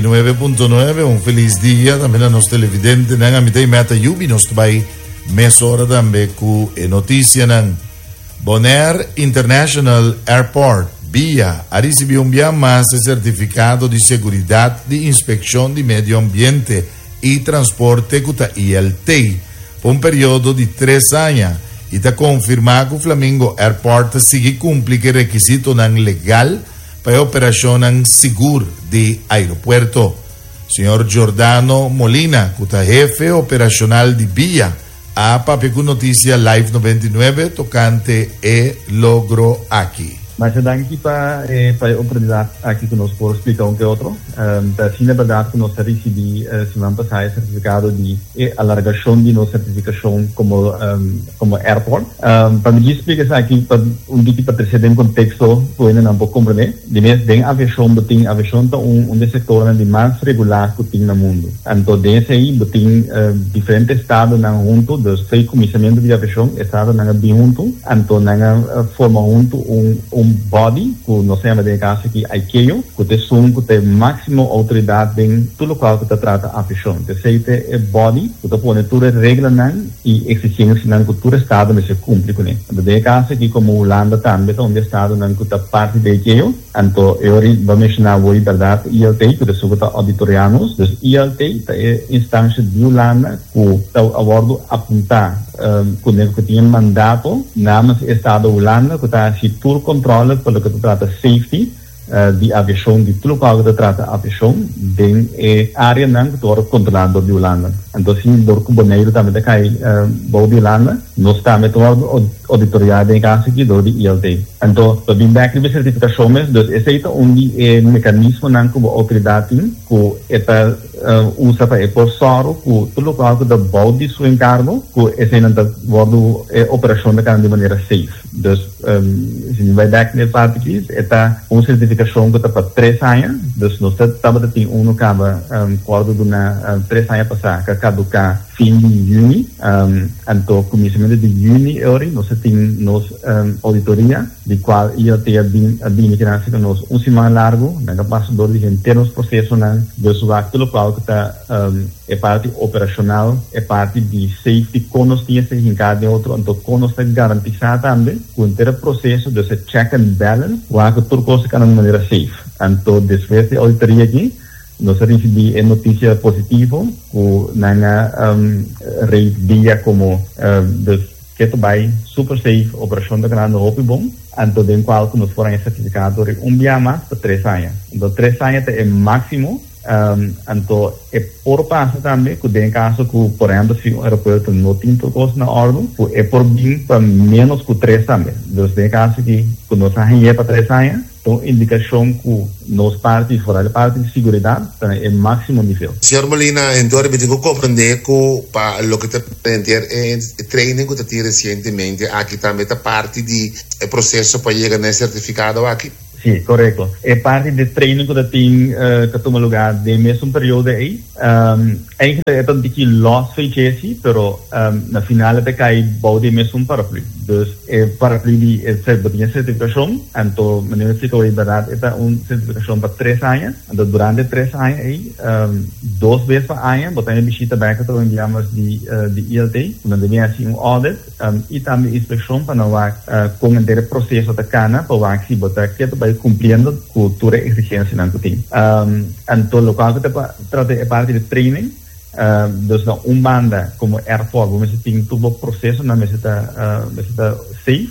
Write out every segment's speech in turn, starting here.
9.9 Un felis dia tambe na nos televidentenan. Ami ta Imeta Yubi. Nos ta bai mesora tambe ku e notisianan. Bonaire International Airport, bia, a risibí un bia mas e sertifikado di seguridat di Inspekshon di Medio Ambiente i Transporte ku ta ILT pa un periodo di tres aña i ta konfirmá ku Flamingo Airport ta sigui kumpli ku e rekisitonan legal pa e operashonnan sigur di aeropuerto. Señor Giordano Molina, ku ta hefe operashonal di bia, a papia ku Noticia Live 99 tokante e logro aki. Masha danki pa e pa e oportunidat aki ku nos por splika un ke otro. Ta asina bèrdat ku nos a risibí siman pasá e sertifikado di e alargashon di nos sertifikashon komo komo airport. Pa mi djis splika esaki pa un tiki pa trese den konteksto ku hendenan por komprendé. Di mes den aviashon bo tin, aviashon ta un un di e sektornan di mas regulá ku tin na mundu. Anto den esei bo tin diferente estadonan huntu, dus fo'i kuminsamentu di aviashon estadonan a bin huntu, anto nan a forma huntu un un body ku nos ta yama den e kaso aki ICAO, ku ta esun ku ta e máksimo outoridat den tur lokual ku ta trata aviashon. Esei ta e body ku ta pone tur e reglanan. E exigencianan cu tur estado mester cumpli cune. Anto den e caso aki como Hulanda tambe ta un di estadonan cu ta parti di ICAO, anto e ora bo a menciona awor y berdad ILT cu ta esun cu ta auditoria nos. Dus ILT ta e instancia di Hulanda cu ta a wordo apunta cune cu tin e mandato namens e estado Hulanda cu ta haci tur controle pa loke ta trata safety di aviashon di tur lokual ku ta trata aviashon den e áreanan ku ta wòrdu kontrolá dor di Hulanda. Anto si dor ku Boneiru tambe ta kai bou di Hulanda, nos tambe ta wòrdu ouditoriá den e kaso aki dor di ILT. Anto pa bin bèk riba e sertifikashon mes, dus esei ta un di e mekanismonan ku bo outoridat tin ku e ta usa pa e por sòru ku tur lokual ku ta bou di su enkargo ku eseinan ta wòrdu e operashon ta kana di manera safe. Dus si mi bai bek na e parti aki, e ta un sertifikashon ku ta pa tres aña. Dus nos ta tabata tin unu kaba ku a wòrdu duna tres aña pasá ku a kaduká fin di yüni. Anto kuminsamentu di yüni e ora nos a tin nos ouditoria di kual ILT a bin a bini kinan ku nos un siman largu. Nan a pasa dor di henter nos prosesonan. Dus wak tur lokual ku ta. E parti operashonal, e parti di safety, kon nos tin esei hinká den otro, anto kon nos ta garantisá tambe ku henter e proseso, dus e check and balance, wak ku tur kos ta kana di manera safe. Anto despues di e auditoria aki, nos a risibí e notisia positivo ku nan a rate dia komo dus ke ta bai super safe, operashon ta kanando hopi bon, anto den kual ku nos por haña sertifikado riba un bia mas pa tres aña. Anto tres aña ta e máksimo. Anto e por pasa tambe ku den kaso ku por ehèmpel si un aeropuerto no tin tur kos na òrdu ku e por bin pa ménos ku tres tambe. Dus den e kaso aki ku nos a hañ'é pa tres aña ta un indikashon ku nos parti foral e parti di siguridat ta na e máksimo nivel. Señor Molina, entor mi tin ku komprendé ku pa loke ta henter e training ku ta tin resientemente aki tambe ta parti di e proseso pa yega na e sertifikado aki? Sí, korekto. E parti di training ku ta tin ta tuma lugá den mesun periodo ei. Eigenlijk e ta un tiki lòs for djesi, pero na final e ta kai bou di e mesun paraplü. Dus e paraplü di e bo tin e sertifikashon, anto manera mi splika awor bèrdat e ta un sertifikashon pa tres aña. Anto durante e tres aña ei dos bes pa aña bo ta haña bishita bèk otro enviamos di di ILT ku nan debe hasi un audit. I tambe inspekshon pa nan wak kon henter e proseso ta kana pa wak si bo ta ke ta bai kumpliendo ku tur e eksigensianan ku tin. Anto lokual ku ta trata e parti di training, dus na un banda komo airport bo mester tin tur bo prosesonan mester ta mester ta safe.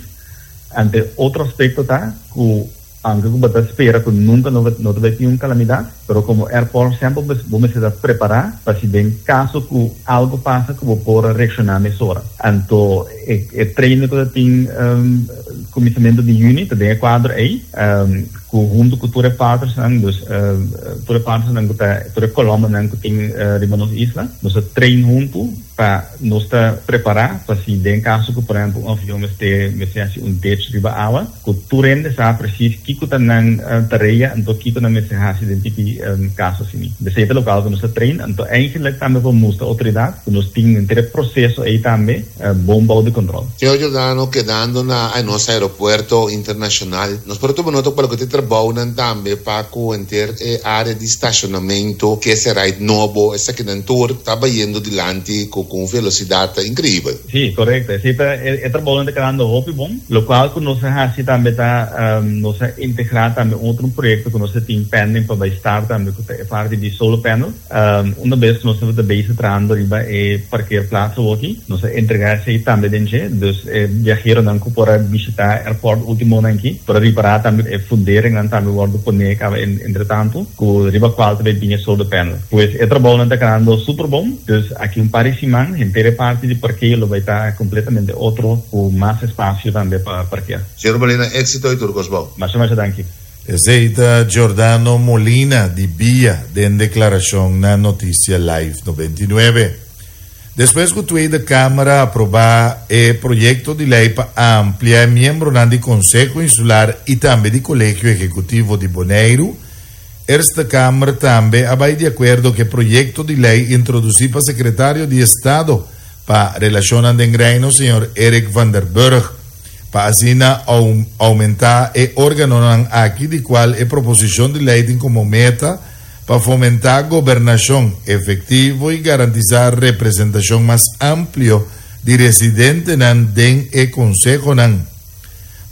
Anto e otro aspekto ta ku Aunke ku bo ta spera ku nunka no no ta bai tin un kalamidat, pero komo airport semper bo mester ta prepará pa si den kaso ku algu pasa ku bo por reakshoná mesora. Anto e e training ku ta tin kuminsamentu di yüni ta den e kuadro ei ku huntu ku tur e partnersnan, dus tur e partnersnan ku ta tur e kolòmbernan ku tin riba nos isla, nos ta train huntu. pa nos ta prepará pa si den kaso ku por ehèmpel un avion mester mester hasi un ditch riba awa, ku tur hende sa presis kiko ta nan tarea anto kiko nan mester hasi den tipi kaso asini. Esei ta lokual ku nos ta train anto eigenlik tambe pa mustra outoridat ku nos tin henter e proseso ei tambe bon bou di kontrol. Señor Giordano, kedando na nos aeropuerto internashonal, nos por a tuma nota ku loke ta e trabounan tambe pa ku henter e área di stashonamentu, keserait nobo, esakinan tur ta bayendo dilanti ku un velosidat inkreibel. Sí, korekto. Esei ta e trabounan ta kedando hopi bon. Lokual ku nos a hasi tambe ta nos a integrá tambe un otro proyekto ku nos a tin pending pa bai start tambe ku ta e parti di solar panel. Una bes ku nos tabata bezig trahando riba e parkeerplaats awoki, nos a entregá esei tambe den dje. Dus e biaheronan ku por a bishitá airport últimonan aki por a ripará tambe e funderingnan tambe wòrdu poné kaba entretantu ku riba kual ta bai bini e solar panel. Pues e trabounan ta kanando super bon. Dus aki un par di siman henter e parti di parkeo lo bai ta kompletamente otro ku mas espasio tambe pa parkea. Señor Molina, éxito y tur kos bon. Masha masha danki. Esei ta Giordano Molina di Bia den deklarashon na Noticia Live 99. Despues ku Tweede Kamer a aprobá e proyekto di lei pa amplia e miembronan di Konseho Insular i tambe di Kolegio Ehekutivo di Boneiru, Eerste Kamer tambe a bai di akuerdo ku e proyekto di lei introdusí pa Sekretario di Estado pa Relashonnan den Reino, señor Eric van der Burg, pa asina oumentá e órganonan aki di kual e proposishon di lei tin komo meta pa fomentá gobernashon efektivo i garantisá representashon mas amplio di residentenan den e konsehonan.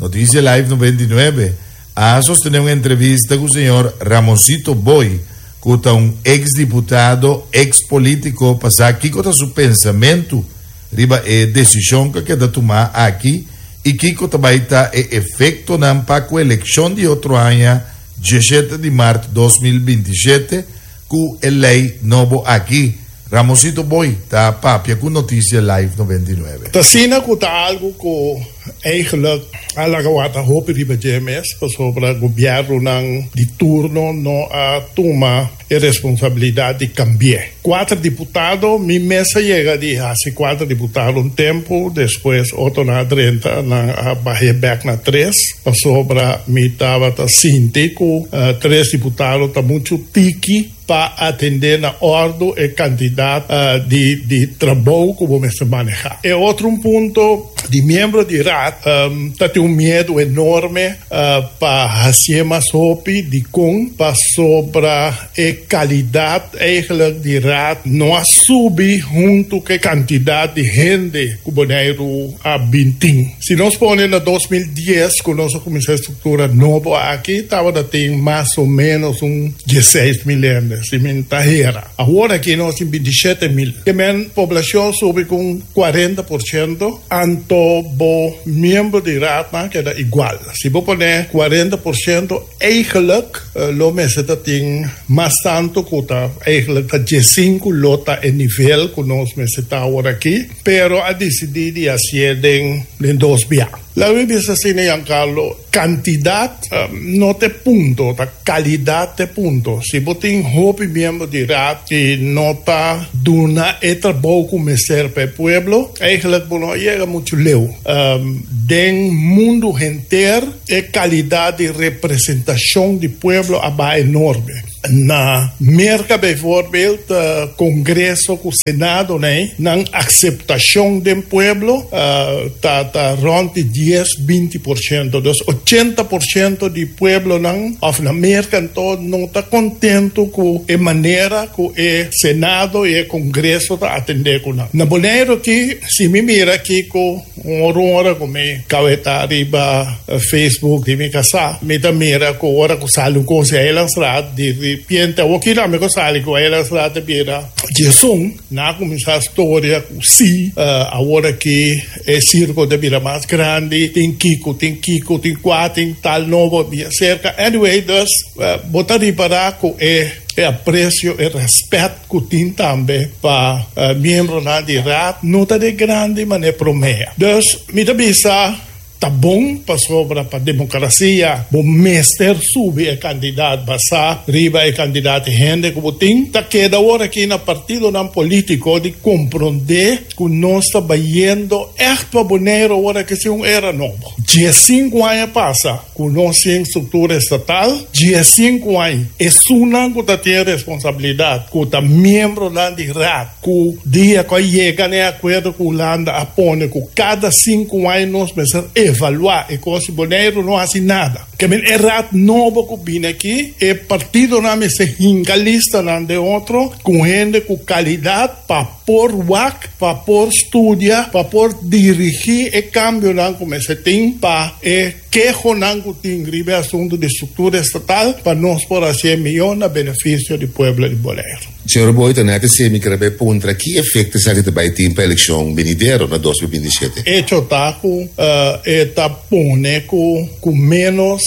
Noticia Live 99 a sostené un entrevista ku señor Ramosito Boy, ku ta un eks diputado, eks polítiko pa sa kiko ta su pensamentu riba e desishon ku a keda tumá aki i kiko ta bai ta e efektonan pa ku elekshon di otro aña diesshete di mart 2027 ku e lei nobo aki. Ramosito Boy ta papia ku Noticia Live 99. Ta asina ku ta algu ku eigenlijk a laga wata hopi riba dje mes pasobra gobièrnunan di turno no a tuma e responsabilidat di kambi'é. Kuater diputado, mi mes a yega di hasi kuater diputado un tempu, despues otronan a drenta, nan a bah'é bèk na tres pasobra mi tabata sinti ku tres diputado ta muchu tiki pa atendé na òrdu e kantidat di di trabou ku bo mester manehá. E otro un punto di miembro di Raad ta tin un miedu enorme pa hasié mas hopi. Dikon? Pasobra e kalidat eigenlijk di Raad no a subi huntu ku e kantidat di hende ku Boneiru a bin tin. Si nos pone na 2010 ku nos a kuminsá e struktura nobo aki tabata tin mas o ménos un dieseis mil hende, si mi ta hera. Awor aki nos tin bintishete mil. Ke men poblashon subi ku un 40%, anto bo miembro di raadnan keda igual. Si bo pone 40%, eigenlijk lo mester ta tin mas tantu ku ta eigenlijk ta diesinku lo ta e nivel ku nos mester ta awor aki, pero a disidí di hasié den den dos bia. Laga mi bisa asina, Giancarlo, kantidat no ta e punto, ta kalidat ta e punto. Si bo tin hopi miembro di raad i no ta duna e trabou ku mester pa e pueblo, eigenlijk bo no a yega muchu leu. Den mundu henter e kalidat di representashon di pueblo a baha enorme. Na Merka bijvoorbeeld, Congreso ku Senado nei, nan akseptashon den pueblo ta ta rònt di dies, 20%. Dus 80% di pueblonan òf na Merka anto no ta kontentu ku e manera ku e Senado i e Congreso ta atendé ku nan. Na Boneiru aki, si mi mira kiko Un ora un ora ku mi kaweta riba Facebook di mi kasá, mi ta mira ku ora ku sali un kos di Eilandsraad, di ripiente awor kila mi ku sali ku Eilandsraad ta bira diesun, nan a kuminsá storia ku sí, awor aki e sirko ta bira mas grandi, tin kiko, tin kiko, tin kua, tin tal nobo bia serka. Anyway, dus bo ta ripará ku e apresio, e rèspèt. Ku tin tambe pa miembronan di Raad no ta de grandi manera promé. Dus mi ta bisa Ta bon pasobra pa demokrasia bo mester subi e kandidat basá riba e kandidat hende ku bo tin. Ta keda awor aki na partidonan polítiko di komprondé ku nos ta bayendo ègt pa Boneiru awor aki si un era nobo. Diesinku aña pasa ku nos tin struktura estatal, diesinku aña esunnan ku ta tin e responsabilidat ku ta miembronan di Raad, Ku dia ku a yega na e akuerdo ku Hulanda a pone ku kada sinku aña nos mester evaluá e kos i Boneiru no hasi nada. Ke men e raad nobo ku bini aki e partidonan mester hinka listanan den otro ku hende ku kalidat pa por wak, pa por studia, pa por dirigí e kambionan ku mester tin pa e kehonan ku tin riba e asuntu di struktura estatal pa nos por hasié mihó na benefisio di pueblo di Boneiru. Señor Boy ta net esei mi kere bai puntra ki efecto esaki ta bai tin pa eleccion benidero na 2027. Echo ta ku e ta pone ku ku menos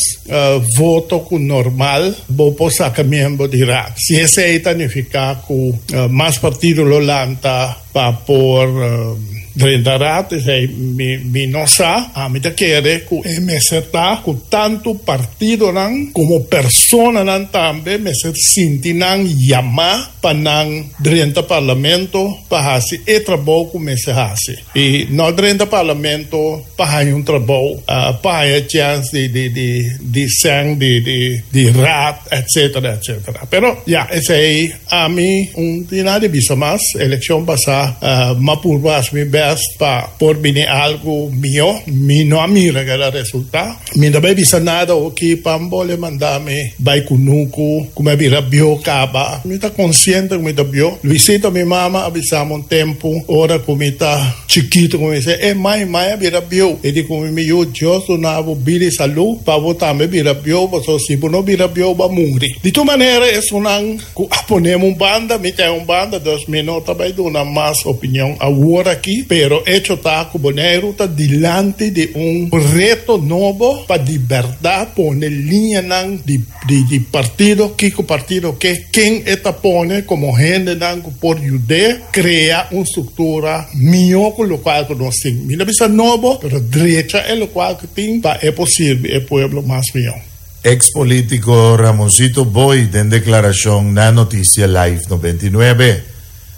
voto ku normal bo por saka miembro di Raad. Si esei ta nifiká ku mas partido lo lanta pa por drenta Raad, esei mi no sa. Ami ta kere ku e mester ta ku tantu partidonan komo personanan tambe mester sinti nan yamá pa nan drenta parlamento pa hasi e trabou ku mester hasi. I no drenta parlamento pa haña un trabou, pa haña chèns di di di di sèn di di di raad etcetera etcetera. Pero ya esei ami un tin nada di bisa mas. Elekshon pasá m'a purba hasi mi bèst pa por bini algu mihó. Mi no a mira keda resultá. Mi no bai bisa nada oki pa Mbole manda mi bai kunuku ku mi a bira bieu kaba. Mi ta konsiente ku mi ta bieu. Luisito mi mama a bisa mi un tempu ora ku mi ta chikitu ku mi bisa e mai mai a bira bieu. E di ku mi mi yu Dios duna bo bida i salu pa bo tambe bira bieu pasobra si bo no bira bieu bo a muri. Di tur manera esunnan ku a ponemi un banda mi ta un banda dus mi no ta bai duna mas opinion awor aki pero echo ta ku Boneiru ta dilanti di un reto nobo pa di bèrdat pone liñanan di di partido kiko partido ke ken e ta pone komo hendenan ku por yud'é krea un struktura mihó ku lokual ku nos tin. Mi no bisa nobo pero drecha e lokual ku tin pa e por sirbi e pueblo mas mihó. Ex politico Ramoncito Boy den declaracion na Noticia Live 99.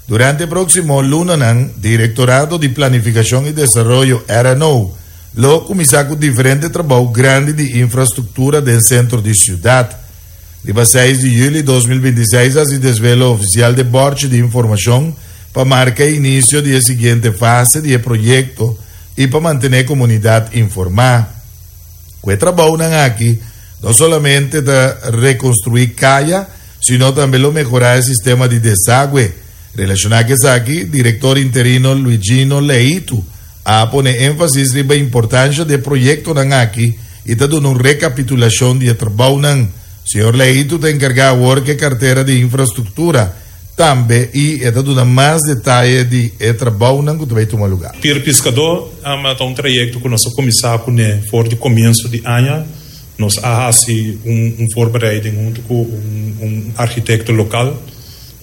Durante e proximo lunanan, Directorado di Planificacion y Desaroyo, RNO, lo cuminsa cu diferente trabou grandi di infrastructura den centro di ciudad. Riba seis di juli 2026 haci desvelo oficial de borchi di informacion pa marca e inicio di e siguiente fase di e proyecto y pa mantene comunidad informa. Ku e trabounan aki no solamente ta rekonstruí kaya, sino tambe lo mehorá e sistema di desagwe. Relashoná ku esaki, direktor interino Luigino Leitu a pone énfasis riba importansha di e proyektonan aki i ta duna un rekapitulashon di e trabounan. Señor Leitu ta enkargá awor ku e kartera di infrastruktura. Tambe i e ta duna mas detaye di e trabounan ku ta bai tuma lugá. Pir Piskadó ta un trayekto ku nos a kuminsá kuné for di komienso di aña. Nos a hasi un voorbereiding huntu ku un arkitekto lokal.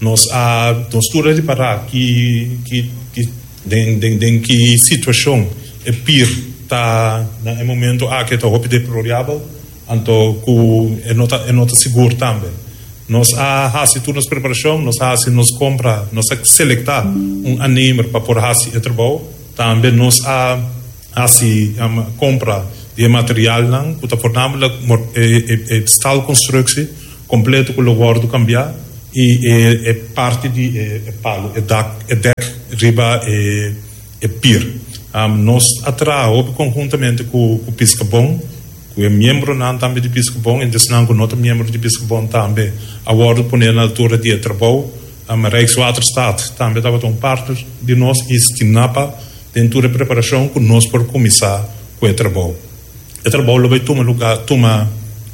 Nos a nos tur a ripará ki ki den den ki situashon e pir ta na e momento aki. E ta hopi deplorabel. Anto ku e no ta e no ta sigur tambe. Nos a hasi tur nos preparashon, nos a hasi nos kompra, nos a selektá un aannemer pa por hasi e trabou. Tambe nos a hasi kompra di e materialnan ku ta voornamelijk e staalkonstruksie kompleto ku lo wòrdu kambiá i e parti di e palu, e dak, e dèk riba e. E pir. Nos a traha hopi konhuntamente ku Piskabon, ku e miembronan tambe di Piskabon, i esnan ku no ta miembro di Piskabon tambe a wòrdu poné na altura di e trabou. Rijkswaterstaat tambe tabata un partner di nos i Stinapa den tur e preparashon ku nos por kuminsá ku e trabou. E trabou lo bai tuma lugá tuma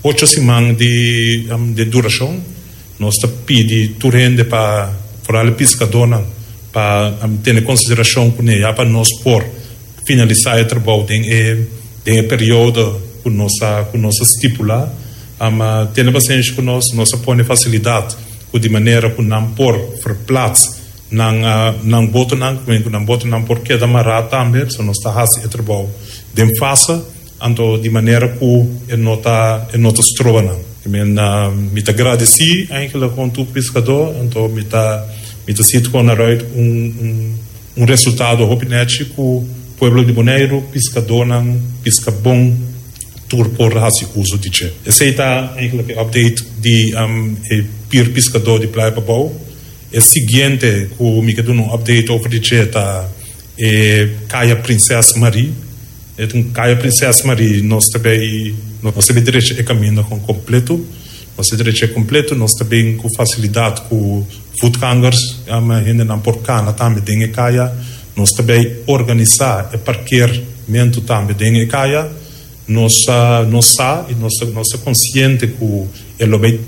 ocho siman di durashon. Nos ta pidi tur hende pa, foral e piskadónan, pa tene konsiderashon kuné ya pa nos por finalisá e trabou den e den e periodo ku nos a ku nos a stipulá. Tene pasenshi ku nos, nos a pone fasilidat ku di manera ku nan por verplats nan nan botonan, ku nan botonan por keda mará tambe, pasobra nos ta hasi e trabou den fase. Anto di manera ku e no ta e no ta stroba nan. I men mi ta gradisí eigenlijk kon tur piskadó, anto mi ta mi ta sit kon aruit un un un resultado hopi nechi ku pueblo di Boneiru, piskadónan piska bon tur por hasi uso di dje. Esei ta eigenlijk e update di e pir piskadó di Playa Pabou. E siguiente ku mi ke duna un update over di dje ta e Kaya Prinses Marie. E ta un kaya Prinses Marie, nos ta bay, nos ta bay drecha e caminda con completo, nos ta drecha e completo, nos ta bin cu facilidad cu voetgangers, hendenan por cana tambe den e kaya, nos ta bay organisa e parkeermento tambe den e kaya, nos nos sa y nos nos ta consciente cu e lo bay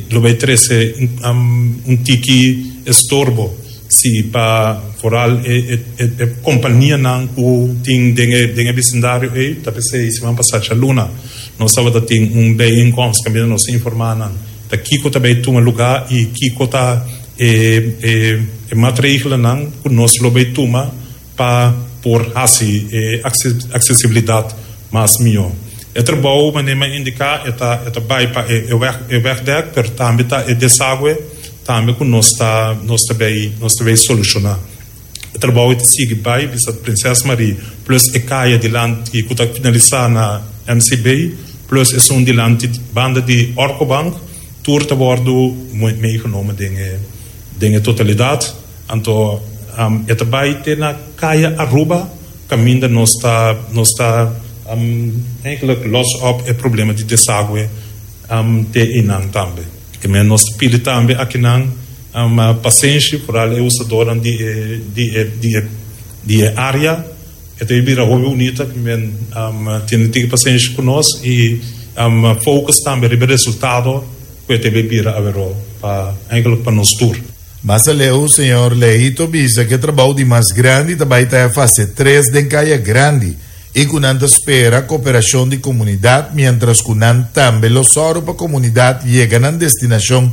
lo bay trece un tiki estorbo. Si pa foral e e kompanianan ku tin den e den e bisindario ei, ta p'esei siman pasá djaluna nos tabata tin un bijeenkomst kaminda nos a informá nan ta kiko ta bai tuma lugá i kiko ta e e e matregelennan ku nos lo bai tuma pa por hasi e aksesibilidat mas mihó. E trabou manera mi a indiká e ta e ta bai pa e e e wegdek pero tambe ta e desagwe tambe ku nos ta nos ta bay nos ta bay solushoná. E trabou ta sigui bai bisa Prinses Marie plus e kaya dilanti ku ta finalisá na MCB plus esun dilanti banda di Orco Bank tur ta wòrdu meegenomen den e den e totalidat. Anto e ta bai te na Kaya Aruba kaminda nos ta nos ta eigenlijk los op e problema di desagwe te einan tambe. Ke men nos ta pidi tambe akinan pasenshi foral e usadornan di e di e di e di e area. E ta bira hopi bunita ke men tene tiki pasenshi ku nos i focus tambe riba e resultado ku e ta bira aweró pa eigenlijk pa nos tur. Mas aleu, señor Leito bisa ku e trabou di mas grandi ta bai ta e fase tres den Kaya Grandi i ku nan ta spera koperashon di komunidat miéntras ku nan tambe lo sòru pa komunidat yega nan destinashon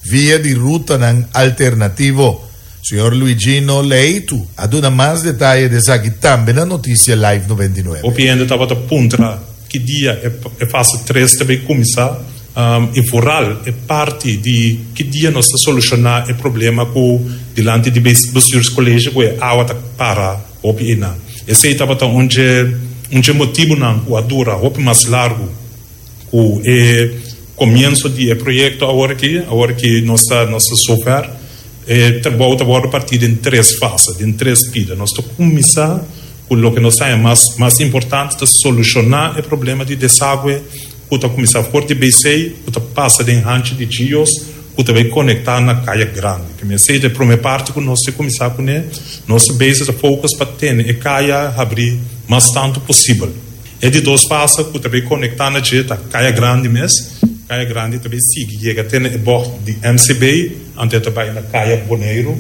via di rutanan alternativo. Señor Luigino Leito a duna mas detaye di esaki tambe na Noticia Live 99. Hopi hende tabata puntra ki dia e fase tres ta bay cuminsa y vooral e parti di ki dia nos ta soluciona e problema cu dilanti di bestuurscollege cu e awa ta para hopi eynan. Esey tabata un dje un dje motibonan cu a dura hopi mas largo cu e comienso di e proyecto awor aki. Awor aki nos ta nos ta zover. E trabou ta wordo parti den tres fase, den tres pida. Nos ta cuminsa Ku loke nos haña mas mas importante ta solushoná e problema di desagwe ku ta kuminsá for di BC ku ta pasa den hanchi di Gios ku ta bai konektá na Kaya Grandi. Ke mester ta e promé parti ku nos ta kuminsá kuné. Nos ta bezig ta focus pa tene e kaya habrí mas tantu posibel. E di dos fase ku ta bai konektá na dje ta Kaya Grandi mes. Kaya Grandi ta bai sigui yega te na e bògt di MCB anto e ta bai na Kaya Boneiru.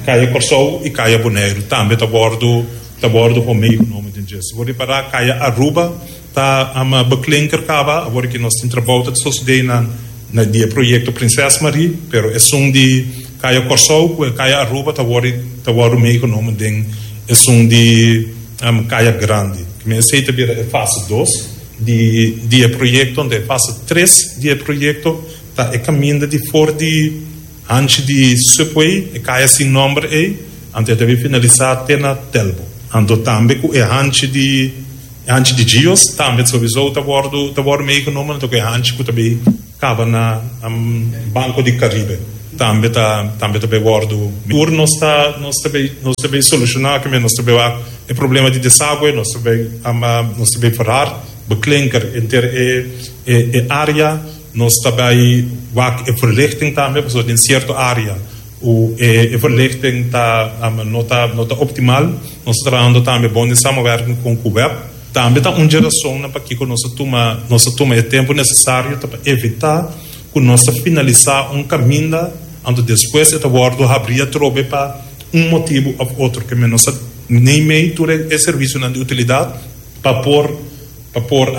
Kaya Kòrsou i Kaya Boneiru tambe ta wòrdu ta wòrdu kon meegenomen den dje. Si bo ripará Kaya Aruba ta beklinker kaba, awor ki nos tin trabou ta sosodé na na di e proyekto Prinses Marie, pero esun di Kaya Kòrsou ku e Kaya Aruba ta wòrdu ta wòrdu meegenomen den esun di Kaya Grandi. Esei ta bira e fase dos di di e proyekto, anto e fase tres di e proyekto ta e kaminda di for di Hanchi di Subway, e kaya sin nomber ei, anto e ta bin finalisá te na Telbo. Anto tambe ku e hanchi di e hanchi di Gios tambe souwisou ta wòrdu ta wòrdu meegenomen, anto ku e hanchi ku ta bin kaba na Banco di Caribe tambe ta tambe ta bin wòrdu. Tur nos ta nos ta bin nos ta bin solushoná kimen nos ta bin wak e problema di desagwe, nos ta bin nos ta bin verhard, beklinker henter e e área. Nos ta bai wak e verlichting tambe pasobra den cierto area cu e verlichting ta no ta no ta optimal. Nos ta trahando tambe bon den samenwerking con cu web. Tambe ta un dje razonnan pakico nos a tuma nos a tuma e tempo necesario ta pa evita cu nos ta finalisa un caminda anto despues e ta wordo habri atrobe pa un motibo of otro. Ke men nos a neimei tur e servicionan di utilidad pa por pa por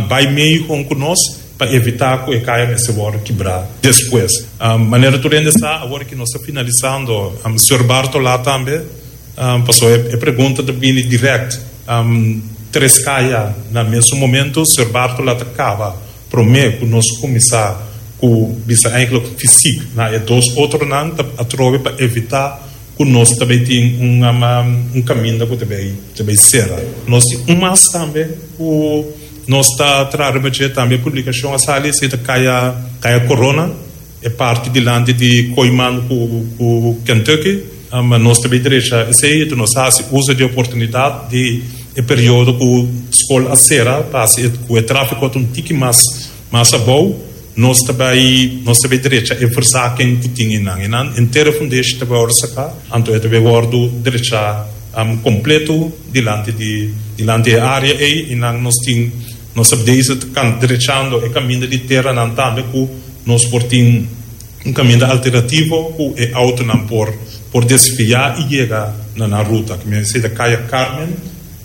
bai mei con cu nos. Pa evitá ku e kaya mester wòrdu kibrá despues. Manera tur hende sa, awor ki nos ta finalisando, Sr. Bartola tambe, pasobra e pregunta ta bini dirèkt. Tres kaya na mesun momento, Sir Bartola ta kaba promé ku nos kuminsá ku bisa eigenlijk fysiek na e dos otronan ta atrobe pa evitá ku nos ta bay tin un un kaminda ku ta bay ta bay sera. Nos tin un mas tambe ku nos ta traha riba dje tambe publikashon a sali esei ta kaya kaya Corona e parti dilanti di Kooiman ku ku Kentucky nos ta bay drecha esei enton nos a hasi uso di e oportunidat di e periodo ku skol a sera pa hasi ku e trafiko ta un tiki mas mas abou. Nos ta bai nos ta bai drecha e verzaking ku tin einan. Einan henter e fundeshi ta bai wòrdu saká, anto e ta bai wòrdu drechá kompleto dilanti di dilanti e área ei. Einan nos tin nos ta bezig ta kan drechando e kaminda di teranan tambe ku nos por tin un kaminda alternativo ku e outonan por por desviá i yega na nan ruta. Ki men esei ta Kaya Carmen.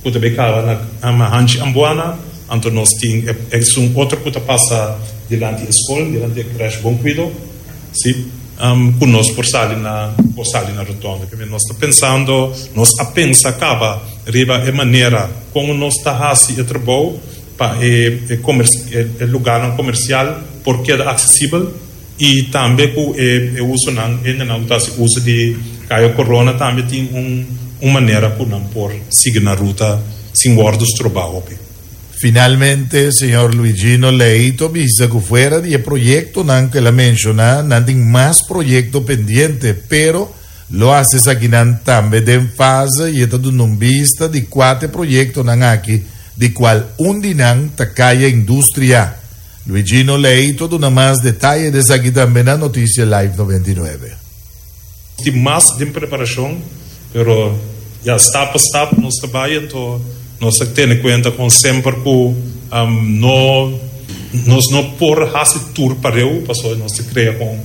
Ku ta bay kaba na Hanchi Ambuana, anto nos tin esun otro ku ta pasa dilanti e skol, dilanti e crèche Bon Cuido, si, ku nos por sali na por sali na rotonde. P'e nos ta pensando, nos a pensa kaba riba e manera kon nos ta hasi e trabou pa e e lugarnan komersial por keda aksesibel i tambe ku e usonan, hendenan ku ta hasi uso di Kaya Korona tambe tin un un manera ku nan por sigui nan ruta sin wòrdu strobá hopi. Finalmente, señor Luigino Leito a bisa ku fuera di e proyektonan ku el a menshoná, nan tin mas proyekto pendiente, pero lo hasi esakinan tambe den fase i e ta duna un bista di kua ta e proyektonan aki, di kual un di nan ta Kaya Industria. Luigino Leito a duna mas detaye di esaki tambe na Noticia Live 99. Tin mas den preparacion, pero ya stap pa stap nos ta bay, anto nos ta tene cuenta con semper cu no nos no por haci tur pareu, pasobra nos ta crea con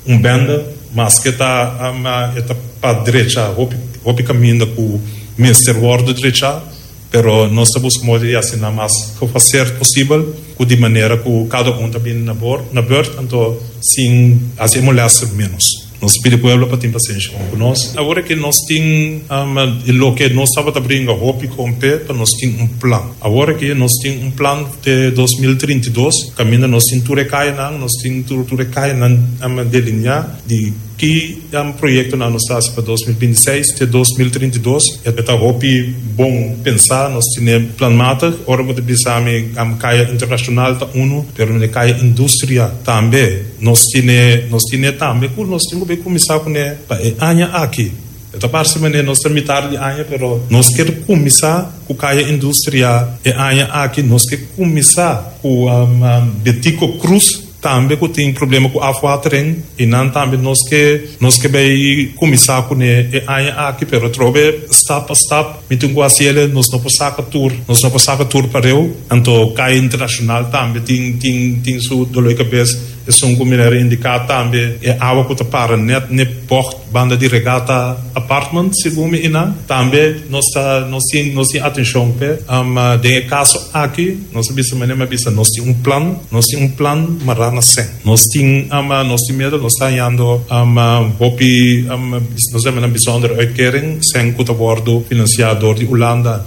un bende, maske ta e ta pa drecha hopi hopi caminda cu mester wordo drecha. Pero nos ta busca modo di haci nan mas gefaseerd posibel, cu di manera cu cada un ta bini na bor, na beurt, anto sin haci e molester menos. Nos pidi pueblo pa tin pasenshi con cu nos. Awor aki nos tin loke nos tabata bringa hopi con p'e, pa nos tin un plan. Awor aki nos tin un plan te 2032, caminda nos tin tur e cayanan, nos tin tur tur e cayanan delinea di. Ki proyektonan nos ta hasi pa 2026 te 2032? E ta hopi bon pensá, nos tene planmatig. Ora bo ta bisa mi kaya internashonal ta unu, pero mi kaya industria tambe nos tene, nos tene tambe ku nos tin ku bai kuminsá kuné pa e aña aki. E ta parse manera nos ta mitar di aña, pero nos kier kuminsá ku kaya industria e aña aki. Nos ke kuminsá ku Betico Cruz. Tambe ku tin problema ku afwatering i nan tambe nos ke nos ke bay kuminsá kuné e aña aki pero atrobe stap pa stap mi tin ku hasi ele nos no por saka tur nos no por saka tur pareu anto kaya internashonal tambe tin tin tin su dolor di kabes esun ku mi a indiká tambe e awa ku ta para nèt n'e bògt Banda di Regata Apartment, segun mi ina, tambe nos ta nos tin nos tin atencion p'e. Den e caso aki, nos a bisa manera mi a bisa, nos tin un plan, nos tin un plan mará na cen. Nos tin nos tin miedo, nos ta hañando hopi nos ta yama nan bijzondere uitkering, cen cu ta wordo financia door di Hulanda,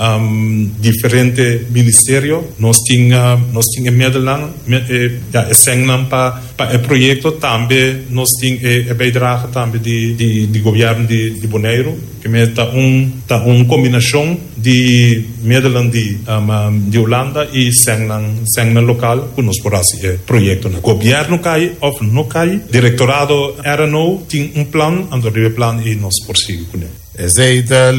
diferente ministerio. Nos tin nos tin e medelnan, e ya e cennan pa. Pa e proyekto tambe nos tin e bijdrage tambe di di gobièrnu di di Boneiru. Primer ta un ta un kombinashon di middelen di di Hulanda i sènnan sènnan lokal ku nos por hasi e proyektonan. Gobièrnu kai òf no kai, direktorado RNO tin un plan, anto riba e plan ei nos por sigui kuné. Esei ta.